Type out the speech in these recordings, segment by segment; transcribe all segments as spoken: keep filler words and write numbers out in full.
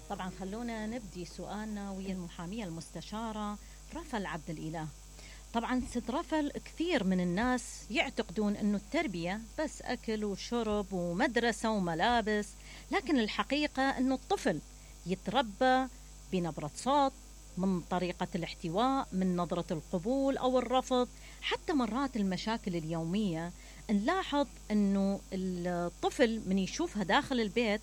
طبعا خلونا نبدي سؤالنا ويا المحامية المستشارة رفل عبد الإله. طبعا ست رفل، كثير من الناس يعتقدون أنه التربية بس أكل وشرب ومدرسة وملابس، لكن الحقيقة أنه الطفل يتربى بنبرة صوت، من طريقة الاحتواء، من نظرة القبول أو الرفض، حتى مرات المشاكل اليومية. نلاحظ أنه الطفل من يشوفها داخل البيت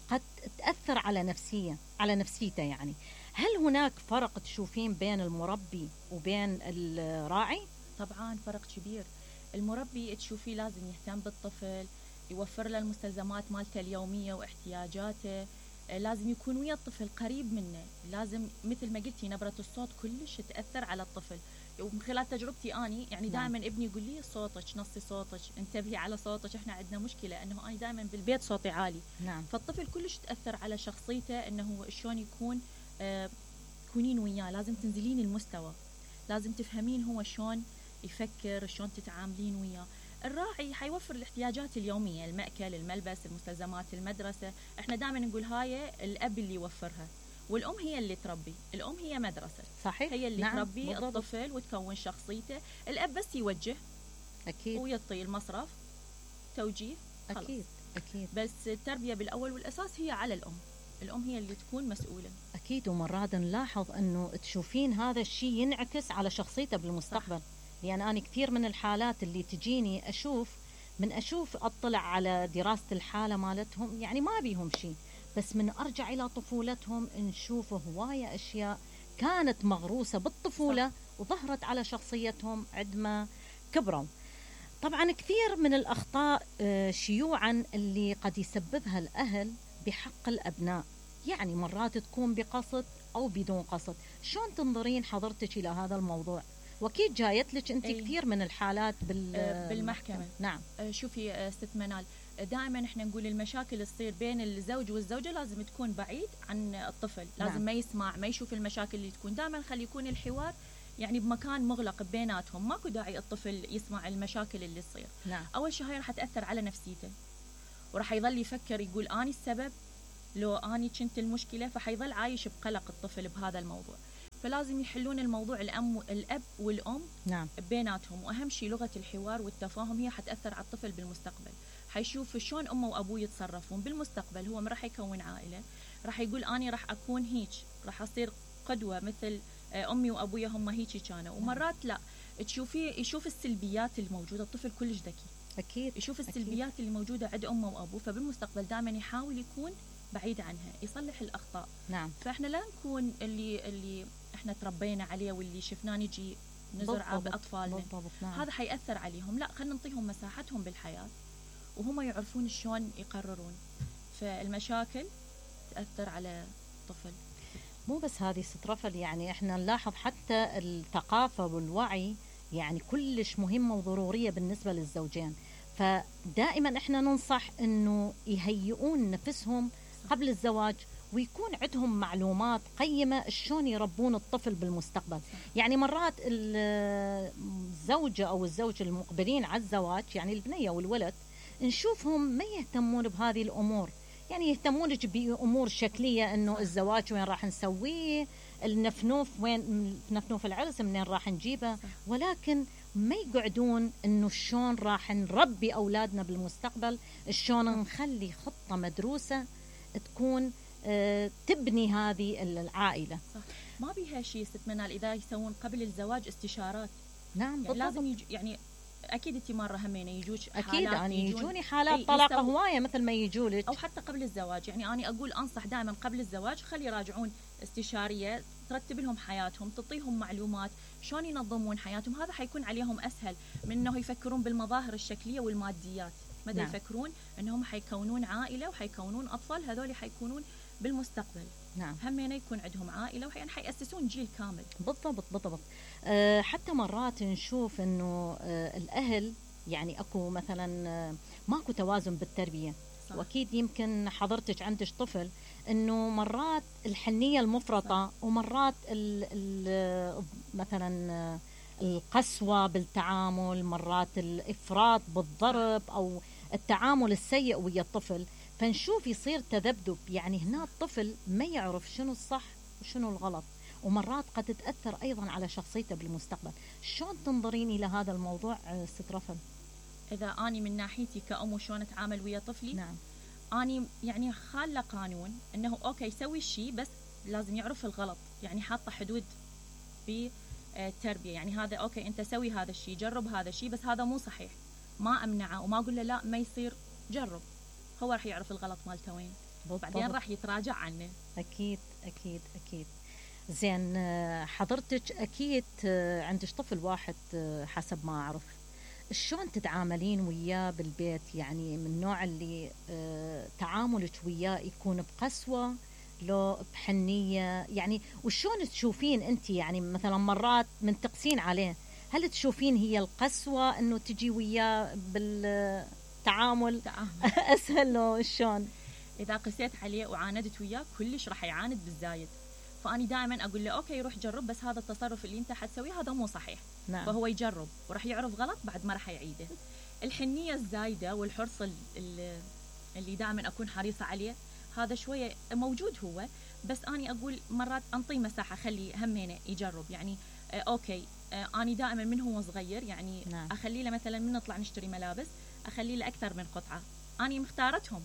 قد تأثر على نفسية على نفسيته. يعني هل هناك فرق تشوفين بين المربي وبين الراعي؟ طبعا فرق كبير. المربي تشوفيه لازم يهتم بالطفل، يوفر له المستلزمات مالته اليومية واحتياجاته، لازم يكون ويا الطفل قريب منه، لازم مثل ما قلتي نبرة الصوت كلش تأثر على الطفل. ومن خلال تجربتي أني يعني دائما نعم. ابني يقول لي صوتك نصي صوتك، انتبهي على صوتك، احنا عندنا مشكلة انه أنا دائما بالبيت صوتي عالي. نعم. فالطفل كلش تأثر على شخصيته، انه شلون يكون آه تكونين وياه، لازم تنزلين المستوى، لازم تفهمين هو شلون يفكر، شلون تتعاملين وياه. الراعي حيوفر الاحتياجات اليومية، المأكل، الملبس، المستلزمات، المدرسة. احنا دائما نقول هاي الأب اللي يوفرها، والأم هي اللي تربي. الأم هي مدرسة، صحيح. هي اللي نعم. تربي بالضبط. الطفل وتكون شخصيته. الأب بس يوجه أكيد ويعطي المصرف توجيه خلص. أكيد أكيد. بس التربية بالأول والأساس هي على الأم، الأم هي اللي تكون مسؤولة. أكيد. ومرات نلاحظ أنه تشوفين هذا الشيء ينعكس على شخصيته بالمستقبل. صح. يعني أنا كثير من الحالات اللي تجيني أشوف من أشوف أطلع على دراسة الحالة مالتهم، يعني ما بيهم شيء، بس من أرجع إلى طفولتهم نشوف هواية أشياء كانت مغروسة بالطفولة. صح. وظهرت على شخصيتهم عندما كبروا. طبعا كثير من الأخطاء شيوعا اللي قد يسببها الأهل بحق الأبناء، يعني مرات تكون بقصد أو بدون قصد. شلون تنظرين حضرتك إلى هذا الموضوع؟ وأكيد جايت لك أنت أي. كثير من الحالات بال... بالمحكمة. نعم. شوفي ست منال، دائما احنا نقول المشاكل تصير بين الزوج والزوجة لازم تكون بعيد عن الطفل. لازم نعم. ما يسمع، ما يشوف المشاكل اللي تكون. دائما خلي يكون الحوار يعني بمكان مغلق بيناتهم، ماكو داعي الطفل يسمع المشاكل اللي تصير. نعم. أول شيء هاي راح تأثر على نفسيته، وراح يظل يفكر يقول أني السبب، لو أني كنت المشكلة، فحيظل عايش بقلق الطفل بهذا الموضوع. فلازم يحلون الموضوع الأم الأب والأم نعم. بيناتهم. وأهم شيء لغة الحوار والتفاهم، هي حتأثر على الطفل بالمستقبل. حيشوف شلون أمه وأبوه يتصرفون بالمستقبل. هو راح يكون عائلة، راح يقول أني راح أكون هيك، راح أصير قدوة مثل أمي وأبويا هم هيك كانوا. ومرات لا، تشوفيه يشوف السلبيات الموجودة. الطفل كلش ذكي، أكيد يشوف السلبيات أكيد. اللي موجودة عند أمه وأبوه، فبالمستقبل دائما يحاول يكون بعيد عنها، يصلح الأخطاء. نعم. فإحنا لا نكون اللي اللي إحنا تربينا عليه واللي شفناه نجي نزرعه بأطفالنا. بالضبط. نعم. هذا حيأثر عليهم. لا، خلينا نعطيهم مساحتهم بالحياة وهم يعرفون شلون يقررون. فالمشاكل تأثر على الطفل. مو بس هذه ست رفل، يعني احنا نلاحظ حتى الثقافة والوعي يعني كلش مهمة وضرورية بالنسبة للزوجين. فدائما احنا ننصح انه يهيئون نفسهم قبل الزواج، ويكون عندهم معلومات قيمة شلون يربون الطفل بالمستقبل. يعني مرات الزوجة أو الزوج المقبلين على الزواج، يعني البنية والولد، نشوفهم ما يهتمون بهذه الأمور. يعني يهتمون بأمور شكلية، إنه الزواج وين راح نسويه، النفنوف وين، نفنوف العرس منين راح نجيبه، ولكن ما يقعدون إنه شلون راح نربي أولادنا بالمستقبل، شلون نخلي خطة مدروسة تكون أه تبني هذه العائلة. صح. ما بيها شيء ست منال إذا يسوون قبل الزواج استشارات. نعم. يعني لازم يج... يعني أكيد أنت مرة همينة يجوك حالات. أكيد يعني يجوني حالات طلاق هواية مثل ما يجولك، أو حتى قبل الزواج. يعني أنا أقول أنصح دائما قبل الزواج خلي يراجعون استشارية ترتب لهم حياتهم، تعطيهم معلومات شلون ينظمون حياتهم. هذا حيكون عليهم أسهل من أنه يفكرون بالمظاهر الشكلية والماديات. ماذا نعم. يفكرون أنهم حيكونون عائلة وحيكونون أطفال، هذول حيكونون بالمستقبل. نعم. همين يكون عندهم عائلة وحين حيأسسون جيل كامل. بالضبط بالضبط. أه حتى مرات نشوف إنه أه الأهل يعني أكو مثلا أه ماكو توازن بالتربية. صح. وأكيد يمكن حضرتك عندك طفل، إنه مرات الحنية المفرطة. صح. ومرات ال ال مثلا أه القسوة بالتعامل، مرات الإفراط بالضرب أو التعامل السيء ويا الطفل. فنشوف يصير تذبذب، يعني هنا الطفل ما يعرف شنو الصح وشنو الغلط، ومرات قد تتأثر أيضا على شخصيته بالمستقبل. شلون تنظرين إلى هذا الموضوع ست رفل؟ إذا أني من ناحيتي كأم وشون أتعامل ويا طفلي، نعم، أني يعني خالة قانون أنه أوكي يسوي الشيء بس لازم يعرف الغلط، يعني حاطة حدود بالتربية. يعني هذا أوكي أنت سوي هذا الشيء، جرب هذا الشيء، بس هذا مو صحيح، ما أمنعه وما أقول له لا ما يصير، جرب، هو راح يعرف الغلط مالته وين، بعدين راح يتراجع عنه. أكيد أكيد أكيد. زين، حضرتك أكيد عندك طفل واحد حسب ما أعرف، شلون تتعاملين وياه بالبيت؟ يعني من النوع اللي تعاملك وياه يكون بقسوة لو بحنية؟ يعني وشلون تشوفين أنت، يعني مثلا مرات من تقسين عليه، هل تشوفين هي القسوة أنه تجي وياه بالتعامل أسهل لو شلون؟ إذا قسيت عليه وعاندت وياه كلش راح يعاند بالزايد، فأني دائما أقول له أوكي روح جرب، بس هذا التصرف اللي أنت حتسويه هذا مو صحيح. نعم. فهو يجرب وراح يعرف غلط، بعد ما راح يعيده. الحنية الزايدة والحرص اللي دائما أكون حريصة عليه هذا شوية موجود هو، بس أني أقول مرات أنطيه مساحة، خلي همينه يجرب. يعني آه أوكي آه أني دائما من هو صغير يعني نعم. أخلي له مثلا من نطلع نشتري ملابس أخلي له أكثر من قطعة، أني مختارتهم،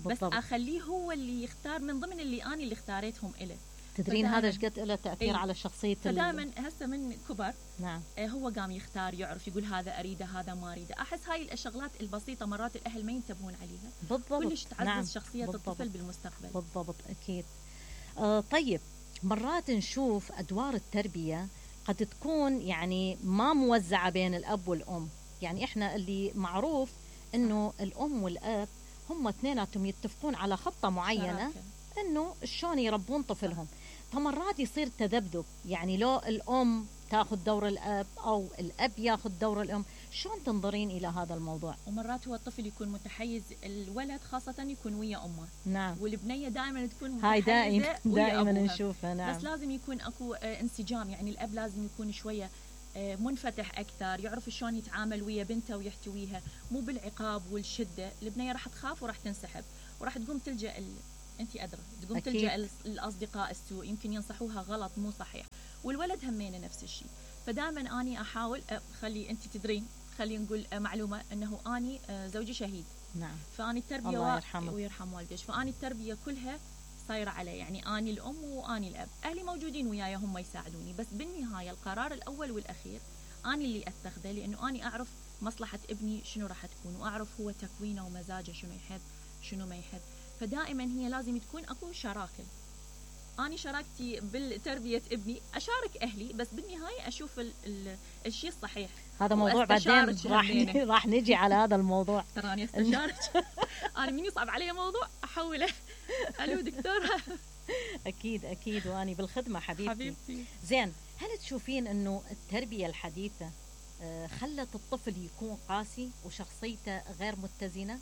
بس أخليه هو اللي يختار من ضمن اللي أني اللي اختاريتهم إله. تدرين هذا ايش قد له تاثير ايه؟ على شخصيه. فدائما هسه من كبر نعم اه هو قام يختار، يعرف يقول هذا اريده هذا ما اريده. احس هاي الشغلات البسيطه مرات الاهل ما ينتبهون عليها، بالضبط، كلش تعزز نعم. شخصيه بالضبط. الطفل بالمستقبل. بالضبط اكيد. آه طيب، مرات نشوف ادوار التربيه قد تكون يعني ما موزعه بين الاب والام. يعني احنا اللي معروف انه الام والاب هم اثنيناتهم يتفقون على خطه معينه شراكة. انه شلون يربون طفلهم. فمرات يصير تذبذب، يعني لو الام تاخذ دور الاب او الاب ياخذ دور الام. شلون تنظرين الى هذا الموضوع؟ ومرات هو الطفل يكون متحيز، الولد خاصه يكون ويا امه، نعم، والبنيه دائما تكون متحيزه هاي دائما دائما نشوفها. نعم، بس لازم يكون اكو انسجام. يعني الاب لازم يكون شويه منفتح اكثر، يعرف شلون يتعامل ويا بنته ويحتويها، مو بالعقاب والشده. البنيه راح تخاف وراح تنسحب وراح تقوم تلجا ال... انت ادرى تقوم أكيد. تلجا الاصدقاء السوء، يمكن ينصحوها غلط مو صحيح. والولد همينه نفس الشيء. فدائما اني احاول خلي انت تدرين، خلينا نقول معلومه انه اني زوجي شهيد. نعم. فاني التربيه الله يرحمه ويرحم والديك، فاني التربيه كلها صايره علي، يعني اني الام واني الاب. اهلي موجودين وياي هم يساعدوني، بس بالنهايه القرار الاول والاخير اني اللي اتخذه، لانه اني اعرف مصلحه ابني شنو راح تكون، واعرف هو تكوينه ومزاجه شنو يحب شنو ما يحب. فدائما هي لازم تكون اكو شراكه. اني شراكتي بالتربيه ابني اشارك اهلي، بس بالنهايه اشوف ال ال الشيء الصحيح. هذا موضوع بعدين راح راح نجي على هذا الموضوع. تراني استشارك. انا من يصعب علي موضوع احوله الو دكتوره. اكيد اكيد، واني بالخدمه حبيبتي. حبيبتي. زين، هل تشوفين انه التربيه الحديثه خلت الطفل يكون قاسي وشخصيته غير متزنه؟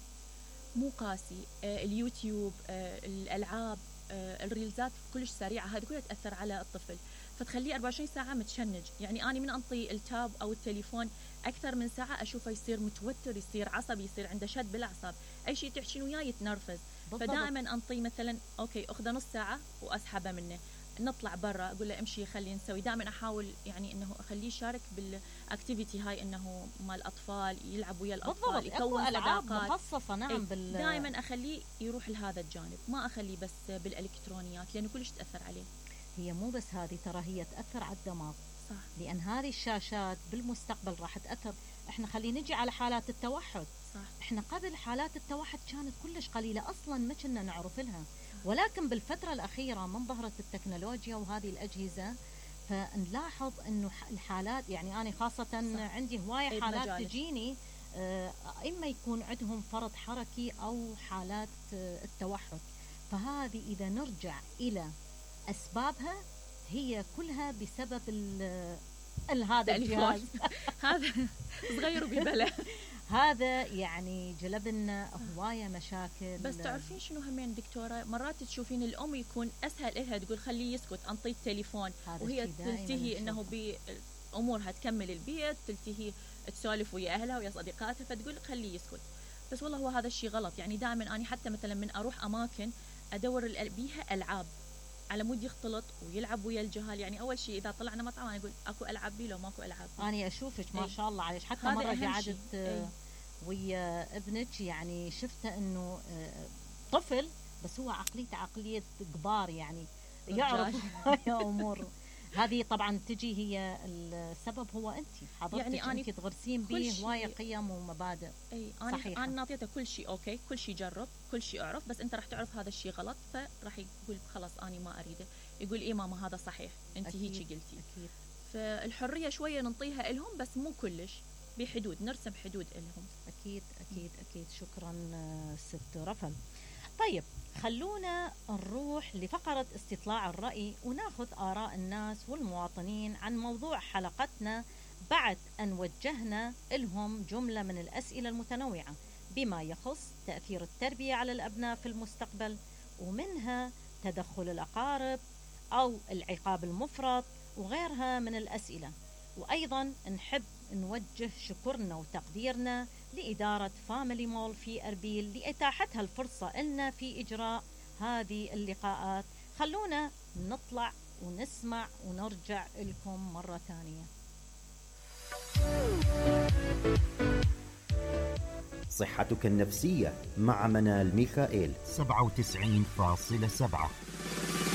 مو قاسي، آه اليوتيوب، آه الالعاب، آه الريلزات كلش سريعه، هذه كلها تاثر على الطفل، فتخليه أربعة وعشرين ساعه متشنج. يعني اني من انطي التاب او التليفون اكثر من ساعه اشوفه يصير متوتر، يصير عصبي، يصير عنده شد بالاعصاب، اي شيء تحكين وياه يتنرفز. فدائما انطي مثلا اوكي اخذه نص ساعه واسحبه منه، نطلع برا اقول له امشي خلينا نسوي. دائما احاول يعني انه اخليه يشارك بالاكتيفيتي هاي، انه مال الاطفال يلعب ويا الاطفال، يكون صداقات مخصصه. نعم، بال... دائما اخليه يروح لهذا الجانب، ما اخليه بس بالالكترونيات لانه كلش تاثر عليه. هي مو بس هذه، ترى هي تاثر على الدماغ. صح. لان هذه الشاشات بالمستقبل راح تاثر. احنا خلينا نجي على حالات التوحد. صح. احنا قبل حالات التوحد كانت كلش قليله، اصلا ما كنا نعرف لها، ولكن بالفترة الأخيرة من ظهرت التكنولوجيا وهذه الأجهزة فنلاحظ أنه الحالات، يعني أنا خاصة صح. عندي هواية حالات مجالس. تجيني إما يكون عندهم فرط حركي أو حالات التوحد. فهذه إذا نرجع إلى أسبابها هي كلها بسبب هذا الجهاز. هذا صغير وببلة. هذا يعني جلب لنا هوايه مشاكل. بس تعرفين شنو همين دكتوره، مرات تشوفين الام يكون اسهل لها تقول خليه يسكت، انطيه التليفون، وهي تلتهي انه بامورها تكمل البيت، تلتهي تسولف ويا اهلها ويا صديقاتها، فتقول خليه يسكت. بس والله هو هذا الشيء غلط. يعني دائما أنا حتى مثلا من أروح أماكن أدور بيها ألعاب على مود يختلط ويلعب ويا الجهال. يعني أول شيء إذا طلعنا مطعم أنا أقول أكو ألعاب بي لو ماكو ألعاب بي. أنا أشوفك ما شاء الله عليك، حتى مرة قعدت ويا ابنك يعني شفته إنه طفل بس هو عقليته عقلية كبار، يعني يعرف أمور. هذه طبعا تجي هي السبب هو أنت حضرتك، يعني أنت تغرسين به هواية قيم ومبادئ. أي أنا أنا نعطيته كل شيء أوكي، كل شيء جرب، كل شيء أعرف، بس أنت راح تعرف هذا الشيء غلط فراح يقول خلاص أنا ما أريده. يقول إيه ماما هذا صحيح أنت هيك قلتي. أكيد. فالحرية شوية ننطيها لهم بس مو كلش، بحدود، نرسم حدود لهم. أكيد أكيد أكيد. شكرا ست رفل. طيب خلونا نروح لفقرة استطلاع الرأي وناخذ آراء الناس والمواطنين عن موضوع حلقتنا بعد أن وجهنا لهم جملة من الأسئلة المتنوعة بما يخص تأثير التربية على الأبناء في المستقبل، ومنها تدخل الأقارب أو العقاب المفرط وغيرها من الأسئلة. وأيضا نحب نوجه شكرنا وتقديرنا لإدارة فاميلي مول في أربيل لإتاحتها الفرصة لنا في إجراء هذه اللقاءات. خلونا نطلع ونسمع ونرجع لكم مرة ثانية. صحتك النفسية مع منال ميخائيل. سبعة وتسعين فاصلة سبعة